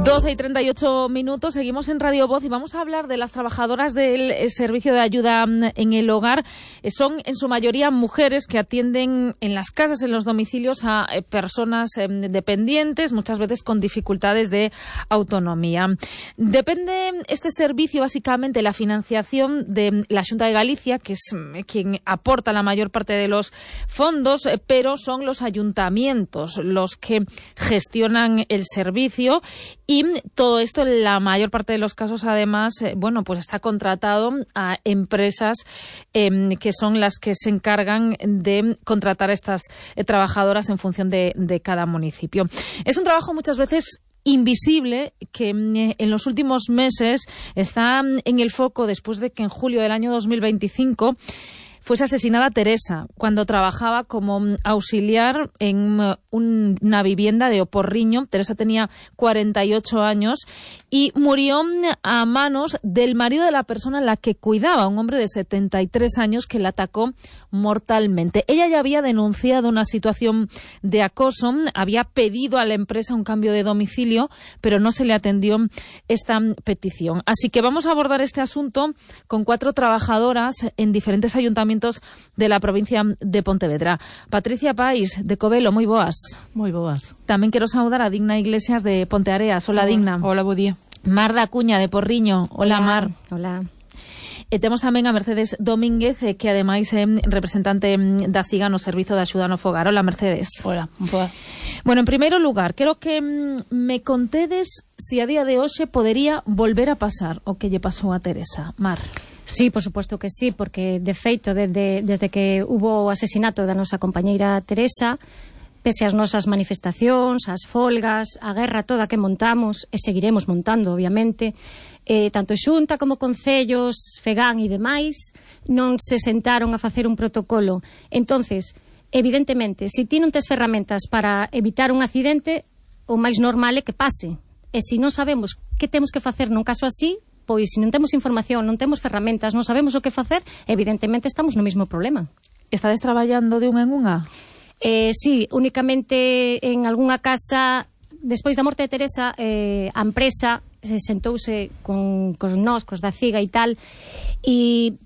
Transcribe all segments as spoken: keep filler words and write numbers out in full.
doce y treinta y ocho minutos, seguimos en Radio Voz y vamos a hablar de las trabajadoras del servicio de ayuda en el hogar. Son en su mayoría mujeres que atienden en las casas, en los domicilios a personas dependientes, muchas veces con dificultades de autonomía. Depende este servicio básicamente la financiación de la Xunta de Galicia, que es quien aporta la mayor parte de los fondos, pero son los ayuntamientos los que gestionan el servicio. Y todo esto, en la mayor parte de los casos, además, eh, bueno, pues está contratado a empresas eh, que son las que se encargan de contratar a estas eh, trabajadoras en función de, de cada municipio. Es un trabajo muchas veces invisible que eh, en los últimos meses está en el foco después de que en julio del año dos mil veinticinco fuese asesinada Teresa cuando trabajaba como auxiliar en un, una vivienda de Oporriño. Teresa tenía cuarenta y ocho años y murió a manos del marido de la persona a la que cuidaba, un hombre de setenta y tres años que la atacó mortalmente. Ella ya había denunciado una situación de acoso, había pedido a la empresa un cambio de domicilio, pero no se le atendió esta petición. Así que vamos a abordar este asunto con cuatro trabajadoras en diferentes ayuntamientos de la provincia de Pontevedra. Patricia Pais, de Covelo, moi boas. Moi boas. Tamén quero saudar a Digna Iglesias de Ponteareas. Hola, Hola. Digna. Hola, bo día. Mar da Cuña de Porriño. Hola, Hola. Mar. Hola. E temos tamén a Mercedes Domínguez, eh, que ademais é representante da CIGA no Servizo de Axuda no Fogar. Hola, Mercedes. Hola, boa. Bueno, en primeiro lugar, quero que mm, me contedes si a día de hoxe podería volver a pasar o que lle pasou a Teresa. Mar. Sí, por suposto que sí, porque de feito desde, desde que hubo o asesinato da nosa compañeira Teresa, pese ás nosas manifestacións, as folgas, a guerra toda que montamos e seguiremos montando, obviamente, eh, tanto Xunta como Concellos, Fegan e demais non se sentaron a facer un protocolo. Entonces, evidentemente, se ti non tes ferramentas para evitar un accidente, o máis normal é que pase. E se non sabemos que temos que facer nun caso así, pois se non temos información, non temos ferramentas, non sabemos o que facer, evidentemente estamos no mesmo problema. Estades traballando de unha en unha? Eh, sí, únicamente en algunha casa, despois da morte de Teresa, eh, a empresa se sentouse con, con nós, cos da CIGA e tal, e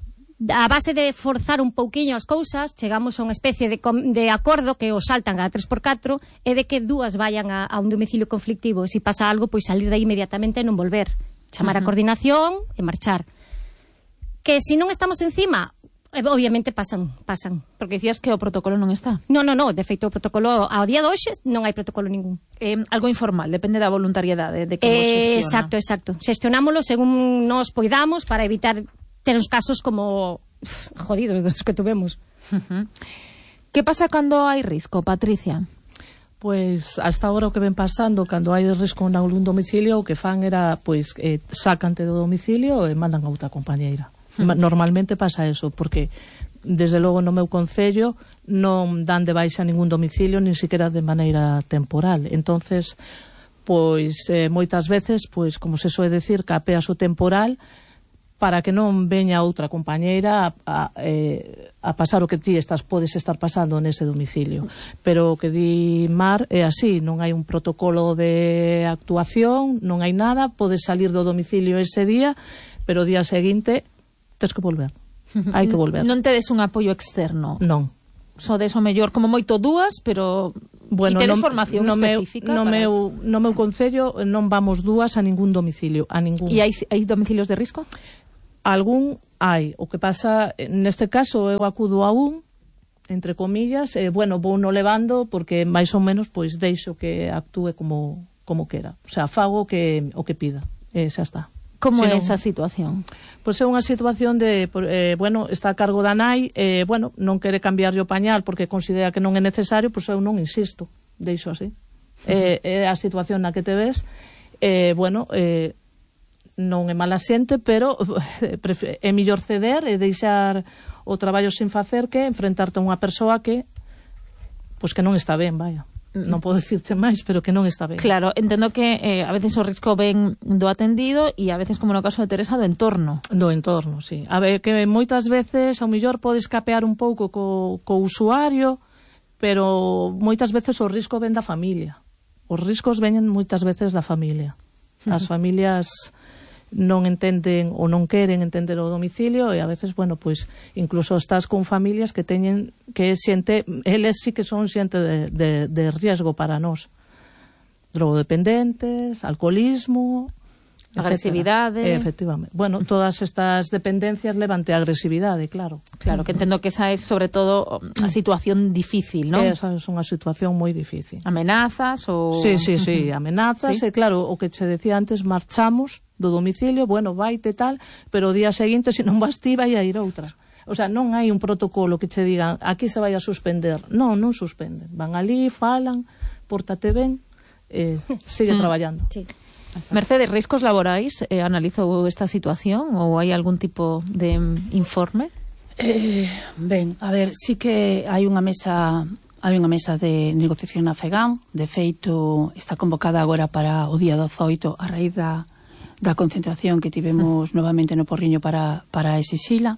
a base de forzar un pouquiño as cousas, chegamos a unha especie de, de acordo que os saltan a tres por catro e de que dúas vayan a, a un domicilio conflictivo, e se pasa algo, pois salir de aí inmediatamente e non volver. Chamar a coordinación e marchar. Que se non estamos encima, obviamente pasan, pasan. Porque dicías que o protocolo non está. Non, non, non, de feito o protocolo ao día de hoxe non hai protocolo ningún. Eh, algo informal, depende da voluntariedade de que vos eh, xestiona. Exacto, exacto. Xestionámolo según nos poidamos para evitar ter uns casos como uf, jodidos dos que tuvemos. Uh-huh. Que pasa cando hai risco, Patricia? Pois hasta agora o que ven pasando, cando hai risco en algún domicilio, o que fan era, pois, eh, sacante do domicilio e mandan a outra compañeira. Uh-huh. Normalmente pasa eso, porque desde logo no meu concello non dan de baixa ningún domicilio, nin siquiera de maneira temporal. Entonces, pois, eh, moitas veces, pois, como se soe decir, capeas o temporal para que non veña outra compañeira a, a, eh, a pasar o que ti estás podes estar pasando nese domicilio. Pero o que di Mar é así, non hai un protocolo de actuación, non hai nada, podes salir do domicilio ese día, pero o día seguinte tens que volver. Hai que volver. Non tedes un apoio externo? Non. Sodes o mellor como moito dúas, pero bueno, e tedes no, formación no específica meu, no para meu, eso? No meu concello non vamos dúas a ningún domicilio, a ningún. E hai, hai domicilios de risco? Algún hai. O que pasa, neste caso, eu acudo a un, entre comillas, e, bueno, vou no levando porque máis ou menos, pois, deixo que actúe como, como quera. O sea, fago que, o que pida. E xa está. Como é non, esa situación? Pois é unha situación de, eh, bueno, está a cargo da nai, eh, bueno, non quere cambiarlle o pañal porque considera que non é necesario, pois eu non insisto, deixo así. É uh-huh. eh, a situación na que te ves, eh, bueno, eh, non é mala xente, pero é mellor ceder e deixar o traballo sin facer que enfrentarte a unha persoa que pois que non está ben, vaya. Non podo dicirte máis, pero que non está ben. Claro, entendo que eh, a veces o risco ven do atendido e a veces, como no caso de Teresa, do entorno. Do entorno, sí. A ver, que moitas veces ao mellor podes capear un pouco co, co usuario, pero moitas veces o risco ven da familia. Os riscos veñen moitas veces da familia. As familias non entenden ou non queren entender o domicilio e a veces, bueno, pois incluso estás con familias que teñen que xente, eles sí que son xente de, de, de riesgo para nós. Drogodependentes, alcoholismo, agresividade. Eh, efectivamente. Bueno, todas estas dependencias levante a agresividade, claro. Claro, que entendo que esa é sobre todo a situación difícil, non? Esa é unha situación moi difícil. Amenazas ou... Sí, sí, sí, amenazas, ¿Sí? E claro, o que che decía antes, marchamos do domicilio, bueno, vaite tal, pero o día seguinte, se non vas ti, vai a ir outra. O sea, non hai un protocolo que che digan, aquí se vai a suspender. Non, non suspenden. Van ali, falan, pórtate ben, eh, sigue sí. traballando. Sí. Mercedes, riscos laborais, eh, analizou esta situación ou hai algún tipo de mm, informe? Eh, ben, a ver, sí que hai unha mesa hai unha mesa de negociación na FEGAM, de feito está convocada agora para o día dezoito a raíz da, da concentración que tivemos novamente no Porriño para, para exixila.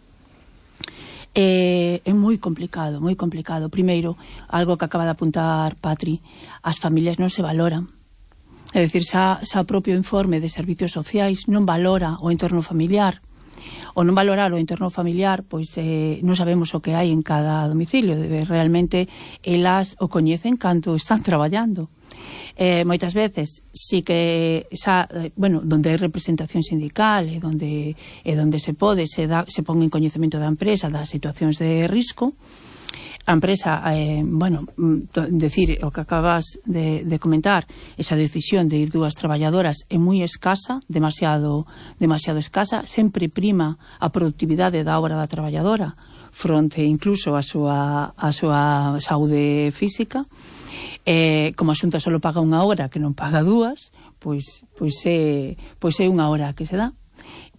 Eh, é moi complicado, moi complicado. Primeiro, algo que acaba de apuntar Patri, as familias non se valoran. É dicir, xa, xa o propio informe de servicios sociais non valora o entorno familiar. O non valorar o entorno familiar, pois eh, non sabemos o que hai en cada domicilio. Realmente elas o coñecen cando están traballando. Eh, moitas veces sí que xa, eh, bueno, donde hai representación sindical e donde, e donde se pode, se, da, se pon en coñecemento da empresa das situacións de risco. A empresa, eh, bueno, decir o que acabas de, de comentar, esa decisión de ir dúas traballadoras é moi escasa, demasiado, demasiado escasa, sempre prima a productividade da obra da traballadora fronte incluso a súa, a súa saúde física. Eh, como a Xunta só paga unha hora que non paga dúas, pois, pois, é, pois é unha hora que se dá.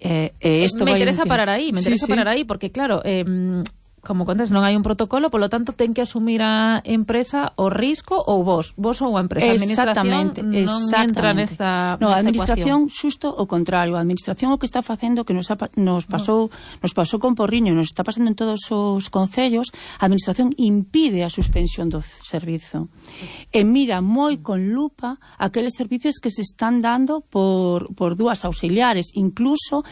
Eh, eh, esto me vai interesa un... parar aí, me interesa sí, parar sí. aí, porque claro... Eh, como contas, non hai un protocolo, polo tanto ten que asumir a empresa o risco ou vos, vos ou a empresa. A administración non entra nesta, no, nesta a administración ecuación. Xusto o contrario, a administración o que está facendo que nos, ha, nos pasou no. nos pasou con Porriño, nos está pasando en todos os concellos, a administración impide a suspensión do servizo e mira moi con lupa aqueles servicios que se están dando por, por dúas auxiliares, incluso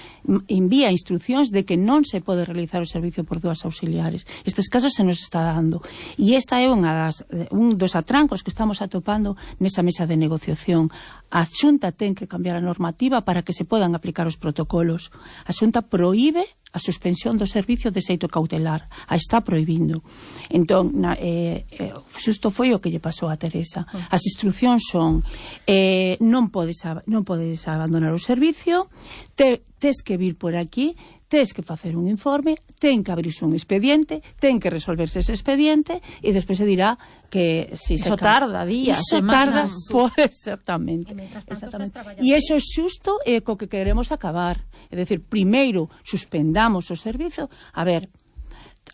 envía instruccións de que non se pode realizar o servicio por dúas auxiliares. Estes casos se nos está dando e esta é unha das, un dos atrancos que estamos atopando nesa mesa de negociación. A Xunta ten que cambiar a normativa para que se podan aplicar os protocolos. A Xunta proíbe a suspensión do servicio de xeito cautelar, a está proibindo. Entón, na, eh, eh, xusto foi o que lle pasou a Teresa. As instruccións son eh, non podes non podes abandonar o servicio, te, tes que vir por aquí, tes que facer un informe, ten que abrirse un expediente, ten que resolverse ese expediente e despois se dirá que si Eso se tarda días, Eso semanas. tarda, pues, exactamente. E iso xusto é co que queremos acabar. É dicir, primeiro suspendamos o servizo. A ver,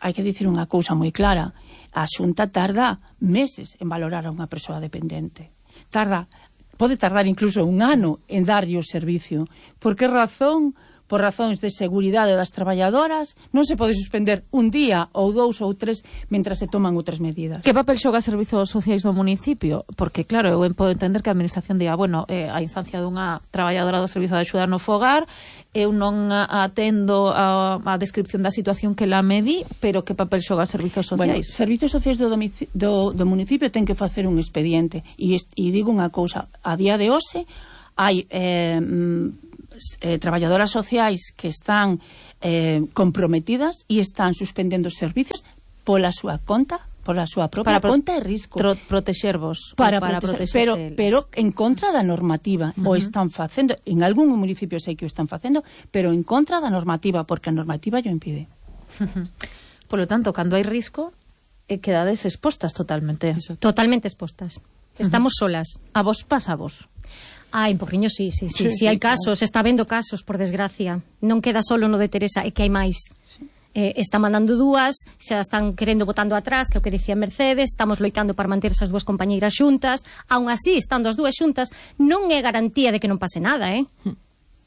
hai que dicir unha cousa moi clara. A Xunta tarda meses en valorar a unha persoa dependente. Tarda, pode tardar incluso un ano en darlle o servicio. Por que razón? Por razóns de seguridade das traballadoras, non se pode suspender un día ou dous ou tres mentras se toman outras medidas. Que papel xoga servizos sociais do municipio? Porque, claro, eu podo entender que a administración diga, bueno, eh, a instancia dunha traballadora do servizo de axuda no fogar, eu non atendo a, a descripción da situación que la medí, pero que papel xoga servizos sociais? Bueno, servizos sociais do, do, do municipio ten que facer un expediente e, e digo unha cousa, a día de hoxe hai eh, eh, traballadoras sociais que están eh, comprometidas e están suspendendo os servicios pola súa conta, pola súa propia para conta de risco. Para protexervos. Para, para proteger, pero, pero en contra da normativa. Uh-huh. O están facendo, en algún municipio sei que o están facendo, pero en contra da normativa, porque a normativa yo impide. Uh-huh. Por lo tanto, cando hai risco, eh, quedades expostas totalmente. Eso. Totalmente expostas. Estamos uh-huh. solas. A vos pasa a vos. Ah, en Porriño sí, sí, sí, sí, sí hai casos, está vendo casos, por desgracia. Non queda solo no de Teresa, é que hai máis. Sí. Eh, está mandando dúas, xa están querendo botando atrás, que é o que dicía Mercedes, estamos loitando para manter esas dúas compañeiras xuntas, aún así, estando as dúas xuntas, non é garantía de que non pase nada, eh?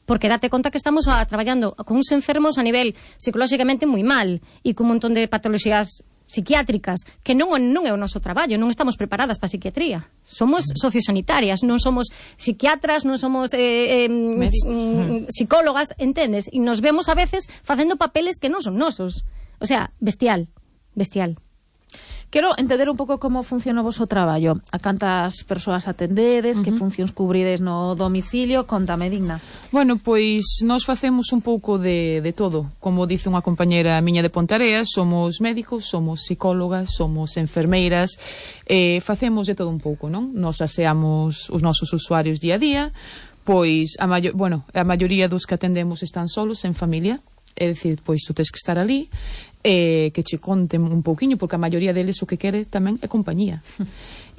Porque date conta que estamos a, traballando con uns enfermos a nivel psicolóxicamente moi mal, e con un montón de patoloxías psiquiátricas, que non, non é o noso traballo, non estamos preparadas para a psiquiatría. Somos sociosanitarias, non somos psiquiatras, non somos eh, eh, mm, psicólogas, entendes? E nos vemos a veces facendo papeles que non son nosos. O sea, bestial, bestial. Quero entender un pouco como funciona o vosso traballo. A cantas persoas atendedes, uh -huh. que funcións cubrides no domicilio? Contame, Digna. Bueno, pois nós facemos un pouco de, de todo. Como dice unha compañera miña de Ponteareas, somos médicos, somos psicólogas, somos enfermeiras, eh, facemos de todo un pouco, non? Nos aseamos os nosos usuarios día a día, pois a, maio, bueno, a maioría dos que atendemos están solos, en familia, é dicir, pois tú tens que estar ali, eh, que che conten un pouquiño, porque a maioría deles o que quere tamén é compañía.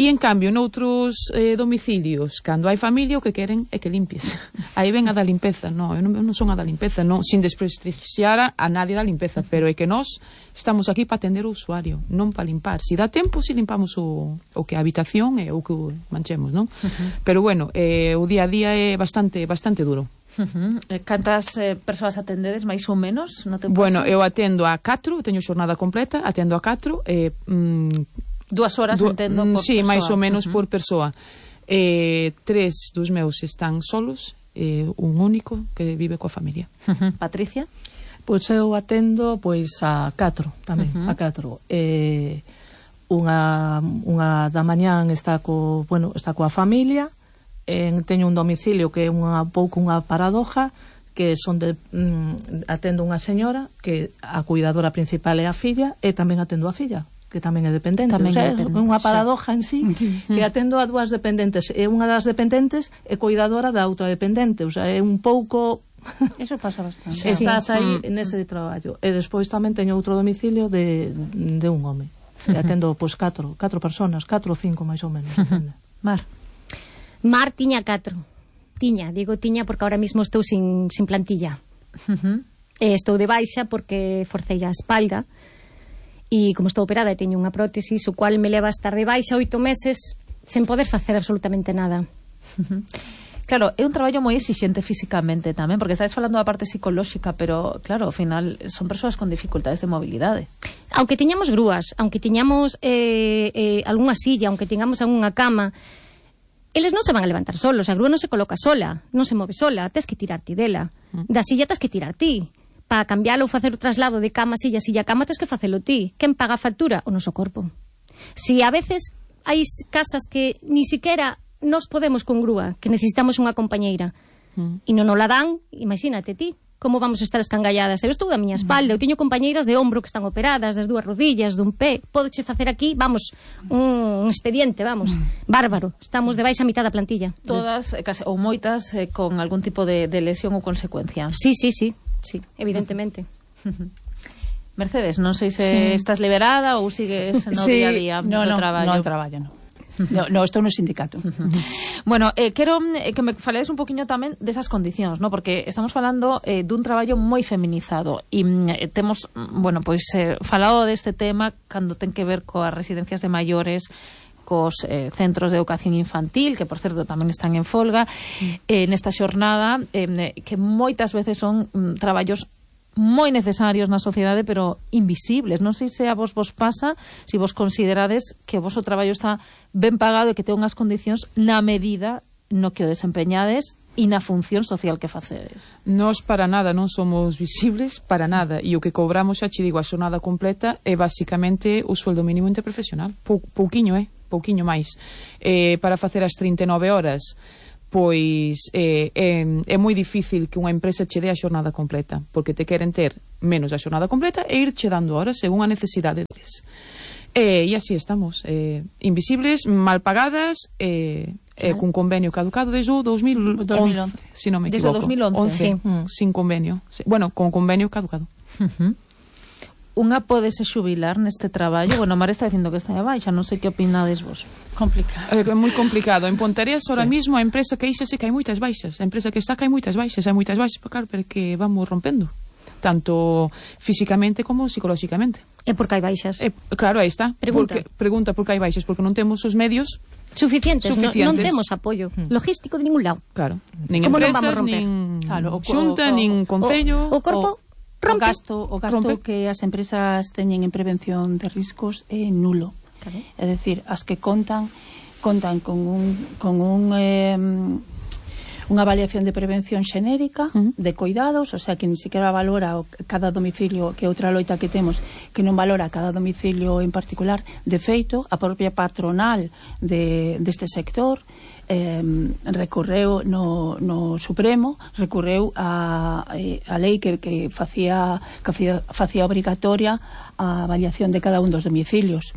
E en cambio, noutros eh, domicilios, cando hai familia, o que queren é que limpies. Aí ven a da limpeza. No, eu non, eu non son a da limpeza, non, sin desprestixiar a, a nadie da limpeza, pero é que nós estamos aquí para atender o usuario, non para limpar. Si dá tempo, si limpamos o, o que a habitación e o que manchemos, non? Uh -huh. Pero bueno, eh, o día a día é bastante bastante duro. Uh -huh. Cantas eh, persoas atendedes, máis ou menos? No teu bueno, caso? eu atendo a catro, teño xornada completa, atendo a catro, eh, mm, Dúas horas, du entendo, por sí, persoa. máis ou menos uh -huh. por persoa. Eh, tres dos meus están solos, eh, un único que vive coa familia. Uh -huh. Patricia? Pois eu atendo pois a catro tamén, uh -huh. a catro. Eh, unha, unha da mañán está co, bueno, está coa familia, en, teño un domicilio que é unha pouco unha paradoja, que son de mm, atendo unha señora que a cuidadora principal é a filla e tamén atendo a filla, que tamén é dependente, tamén o sea, é dependente, unha paradoja en sí, sí. que atendo a dúas dependentes e unha das dependentes é cuidadora da outra dependente, o sea, é un pouco eso pasa bastante. Estás sí. aí mm. nese traballo. E despois tamén teño outro domicilio de, de un home. E atendo pois catro, catro personas, catro ou cinco máis ou menos, depende. Mar. Mar tiña catro. Tiña, digo tiña porque ahora mismo estou sin, sin plantilla. Uh -huh. E estou de baixa porque forcei a espalda. E como estou operada e teño unha prótesis, o cual me leva a estar de baixa oito meses sen poder facer absolutamente nada. Uh -huh. Claro, é un traballo moi exixente físicamente tamén, porque estades falando da parte psicolóxica, pero claro, ao final son persoas con dificultades de mobilidade. Aunque tiñamos grúas, aunque tiñamos eh, eh, algunha silla, aunque tiñamos algunha cama, eles non se van a levantar solos, a grúa non se coloca sola, non se move sola, tes que tirar ti dela. Da silla tes que tirar ti. Para cambiálo ou facer o traslado de cama, silla, silla, cama, tes que facelo ti. Quen paga a factura? O noso corpo. Si a veces hai casas que ni siquiera nos podemos con grúa, que necesitamos unha compañeira, mm. e non nos la dan, imagínate ti, como vamos a estar escangalladas. Eu estou da miña espalda, eu teño compañeiras de ombro que están operadas, das dúas rodillas, dun pé, podeche facer aquí, vamos, un, un expediente, vamos, bárbaro. Estamos de baixa a mitad da plantilla. Todas, case, ou moitas, eh, con algún tipo de, de lesión ou consecuencia. Sí, sí, sí, sí, evidentemente. Mercedes, non sei se sí. estás liberada ou sigues no sí. día a día no, do no, traballo. No, no traballo, no. No, no, estou no sindicato. Bueno, eh, quero que me faledes un poquinho tamén desas condicións, ¿no? Porque estamos falando eh, dun traballo moi feminizado e eh, temos, bueno, pois eh, falado deste tema cando ten que ver coas residencias de maiores, cos eh, centros de educación infantil, que por certo tamén están en folga, eh, nesta xornada, eh, que moitas veces son mm, traballos moi necesarios na sociedade, pero invisibles. Non sei se a vos vos pasa, se vos considerades que o vosso traballo está ben pagado e que ten unhas condicións na medida no que o desempeñades e na función social que facedes. Nós para nada non somos visibles, para nada, e o que cobramos, xa che digo, a xornada completa é basicamente o sueldo mínimo interprofesional. Pou, pouquiño, eh? Pouquiño máis. Eh, para facer as trinta e nove horas, pois eh, é, é moi difícil que unha empresa che dé a xornada completa, porque te queren ter menos a xornada completa e ir che dando horas según a necesidade deles. E, e así estamos, eh, invisibles, mal pagadas, eh, eh, cun convenio caducado desde o dos mil once, se non me equivoco. Desde o dos mil once, once, sí. mm, sin convenio. Bueno, con convenio caducado. Uh -huh. Unha podese xubilar neste traballo? Bueno, Mar está dicindo que está de baixa, non sei que opinades vos. Complicado. É moi complicado. En Ponteareas, ahora sí. mismo, a empresa que ixe que hai moitas baixas. A empresa que está que hai moitas baixas, hai moitas baixas, claro, porque vamos rompendo. Tanto físicamente como psicolóxicamente. É porque hai baixas. E, claro, aí está. Pregunta. Porque, pregunta por que hai baixas, porque non temos os medios suficientes, suficientes. No, non temos apoio mm. logístico de ningún lado. Claro. Nin como empresas, nin nin claro, o, xunta, o, nin concello. O, o corpo, rompe. O gasto, o gasto rompe. que as empresas teñen en prevención de riscos é nulo. Claro. É dicir, as que contan contan con un con un eh, unha avaliación de prevención xenérica, uh-huh. de cuidados, o sea, que ni siquiera valora o, cada domicilio, que outra loita que temos, que non valora cada domicilio en particular. De feito, a propia patronal de, deste sector eh, recorreu no, no Supremo, recorreu a, a lei que, que facía, que facía, facía obrigatoria a avaliación de cada un dos domicilios,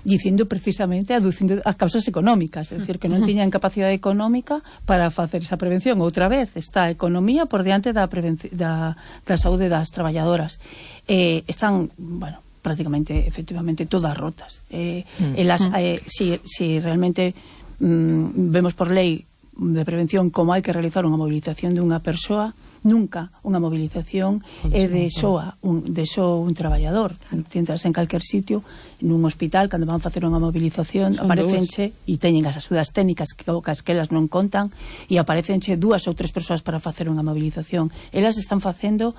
dicindo precisamente, aducindo as causas económicas, é dicir, que non tiñan capacidade económica para facer esa prevención. Outra vez, está a economía por diante da, da, da saúde das traballadoras. Eh, están, bueno, prácticamente, efectivamente, todas rotas. Eh, mm. elas, eh, si, si realmente mm, vemos por lei de prevención como hai que realizar unha movilización de unha persoa, nunca unha movilización é de soa un, de só un traballador. Tentas en calquer sitio, nun hospital, cando van facer unha movilización, aparecenche e teñen as axudas técnicas que, que elas non contan, e aparecenche dúas ou tres persoas para facer unha movilización. Elas están facendo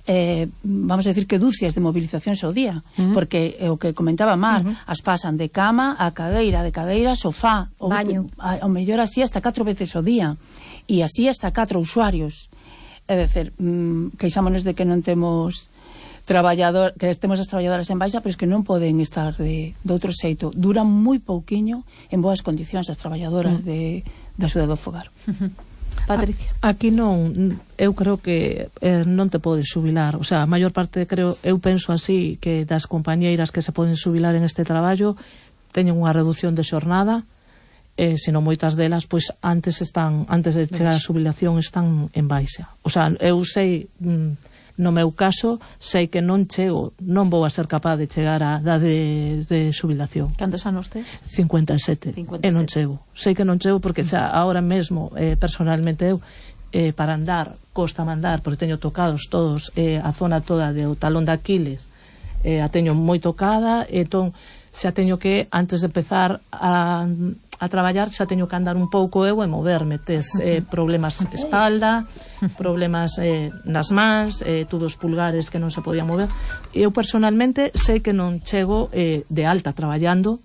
eh, vamos a decir que dúcias de movilizacións ao día, uh-huh. porque eh, o que comentaba Mar, uh-huh. as pasan de cama a cadeira, de cadeira a sofá, ou, baño, ao mellor así hasta catro veces ao día, e así hasta catro usuarios. É dicir, mmm, queixámonos de que non temos traballador, que temos as traballadoras en baixa, pero es que non poden estar de, de outro xeito. Duran moi pouquiño en boas condicións as traballadoras mm. de, de axuda do fogar. Patricia. A, aquí non, eu creo que eh, non te podes xubilar, o sea, a maior parte, creo, eu penso así, que das compañeiras que se poden xubilar en este traballo teñen unha reducción de xornada, Eh, senón moitas delas, pois antes están antes de chegar a xubilación están en baixa. O sea, eu sei, mm, no meu caso, sei que non chego, non vou a ser capaz de chegar a idade de, de xubilación. Cantos anos tes? cincuenta e sete. cincuenta e sete. E non chego. Sei que non chego porque xa ahora mesmo, eh, personalmente eu, eh, para andar, costa mandar, porque teño tocados todos, eh, a zona toda do talón de Aquiles, eh, a teño moi tocada, entón xa teño que, antes de empezar a a traballar, xa teño que andar un pouco eu e moverme, tes eh, problemas espalda, problemas eh, nas mans, eh, todos os pulgares que non se podían mover. Eu personalmente sei que non chego eh, de alta traballando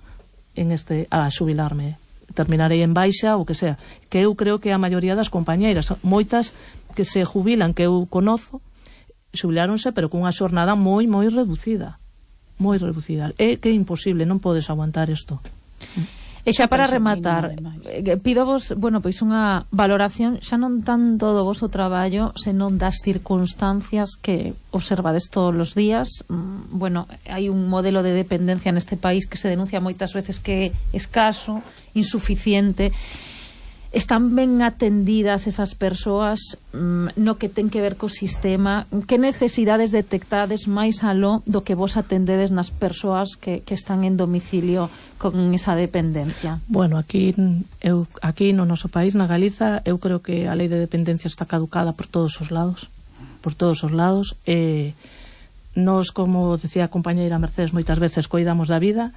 en este a xubilarme, terminarei en baixa ou que sea, que eu creo que a maioría das compañeiras, moitas que se jubilan, que eu conozo, xubiláronse pero cunha xornada moi moi reducida, moi reducida. É que é imposible, non podes aguantar isto. E xa para rematar, pido vos, bueno, pois unha valoración xa non tanto do voso traballo, senón das circunstancias que observades todos os días. Bueno, hai un modelo de dependencia neste país que se denuncia moitas veces que é escaso, insuficiente. Están ben atendidas esas persoas mm, no que ten que ver co sistema? Que necesidades detectades máis aló do que vos atendedes nas persoas que, que están en domicilio con esa dependencia? Bueno, aquí eu aquí no noso país, na Galiza, eu creo que a lei de dependencia está caducada por todos os lados, por todos os lados. Eh, nos, como decía a compañeira Mercedes, moitas veces coidamos da vida,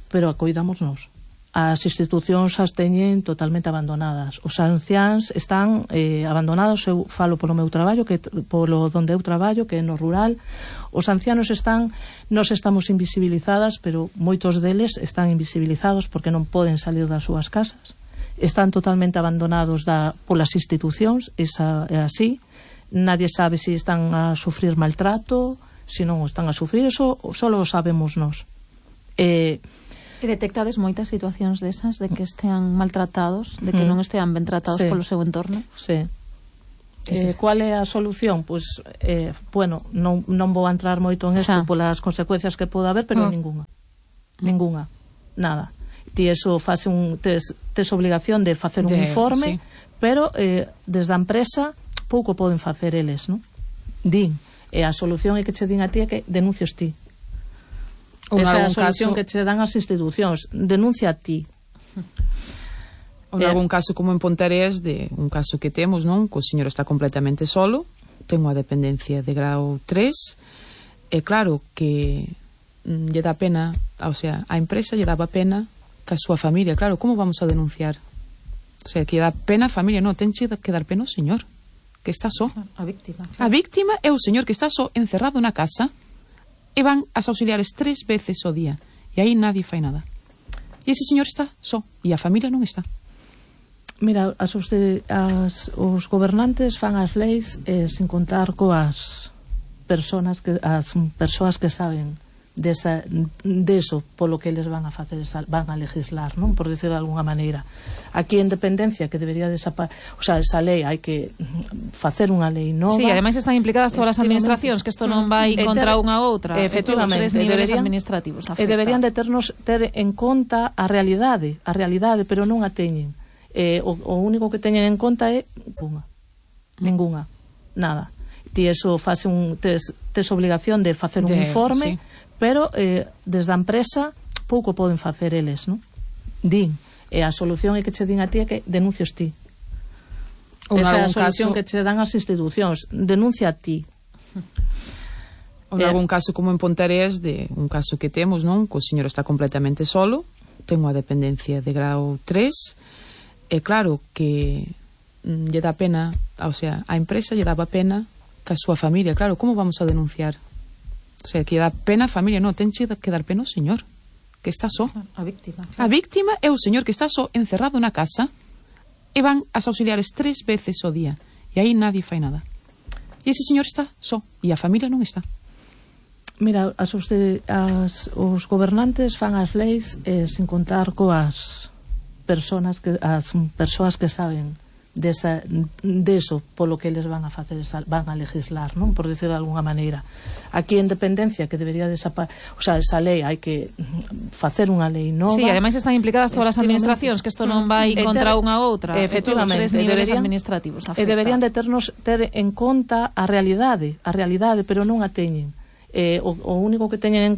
pero a coidamos nos. As institucións as teñen totalmente abandonadas. Os anciáns están eh, abandonados. Eu falo polo meu traballo, que polo donde eu traballo, que é no rural. Os ancianos están, nos estamos invisibilizadas, pero moitos deles están invisibilizados porque non poden salir das súas casas. Están totalmente abandonados da, polas institucións, esa é así. Nadie sabe se si están a sufrir maltrato, se si non o están a sufrir, eso só o sabemos nós. Eh, E detectades moitas situacións desas, de que estean maltratados, de que mm. non estean ben tratados sí. polo seu entorno? Sí. Eh, cual é a solución? Pois, pues, eh, bueno, non, non vou a entrar moito en isto polas consecuencias que pode haber, pero mm. ninguna. Ninguna. Nada. Ti eso fase un, tes, tes obligación de facer un de, informe, sí. pero eh, desde a empresa pouco poden facer eles, non? Din. E a solución é que che din a ti é que denuncios ti. Esa é a solución caso... que che dan as institucións. Denuncia a ti. Ou en algún caso, como en Pontarés, de un caso que temos, non? Que o señor está completamente solo, ten unha dependencia de grau tres, e claro que mm, lle dá pena, o sea, a empresa lle daba pena que a súa familia, claro, como vamos a denunciar? O sea, que lle dá pena a familia, non, ten que dar pena ao señor. que está só. A víctima. A víctima é o señor que está só encerrado na casa e van as auxiliares tres veces ao día e aí nadie fai nada. E ese señor está só e a familia non está. Mira, as, as, os gobernantes fan as leis eh, sin contar coas personas que, as persoas que saben desa, deso polo que eles van a facer, van a legislar, non? Por decir de alguna maneira. Aquí en dependencia que debería desaparecer, o sea, esa lei hai que facer unha lei nova. Sí, ademais están implicadas todas as administracións, que isto non vai contra unha ou outra, efectivamente, todos os niveles deberían, administrativos afecta. E deberían de ternos ter en conta a realidade, a realidade, pero non a teñen. Eh, o, o único que teñen en conta é ninguna, ninguna, nada. Ti eso fase un tes, tes obligación de facer un de, informe, sí. Pero eh, desde a empresa pouco poden facer eles, non? Din, e a solución é que che din a ti é que denuncios ti. Ou esa é a solución caso... que che dan as institucións, denuncia a ti. Ou en eh, algún caso como en Pontareas, de un caso que temos, non? Que o señor está completamente solo, ten unha dependencia de grau tres, e claro que mm, lle dá pena, o sea, a empresa lle daba pena que a súa familia, claro, como vamos a denunciar? O sea, que dá pena a familia, non, ten que dar pena o señor que está só. A víctima. A víctima é o señor que está só encerrado na casa e van as auxiliares tres veces ao día e aí nadie fai nada. E ese señor está só e a familia non está. Mira, as, as, os gobernantes fan as leis eh, sin contar coas personas que, as persoas que saben desa, deso polo que eles van a facer, van a legislar, non? Por decir de alguna maneira. Aquí en dependencia que debería desaparecer, o sea, esa lei hai que facer unha lei nova. Sí, ademais están implicadas todas as administracións, que isto non vai contra unha ou outra, efectivamente, todos os niveles deberían, administrativos afecta. E deberían de ternos ter en conta a realidade, a realidade, pero non a teñen. Eh, o, o único que teñen en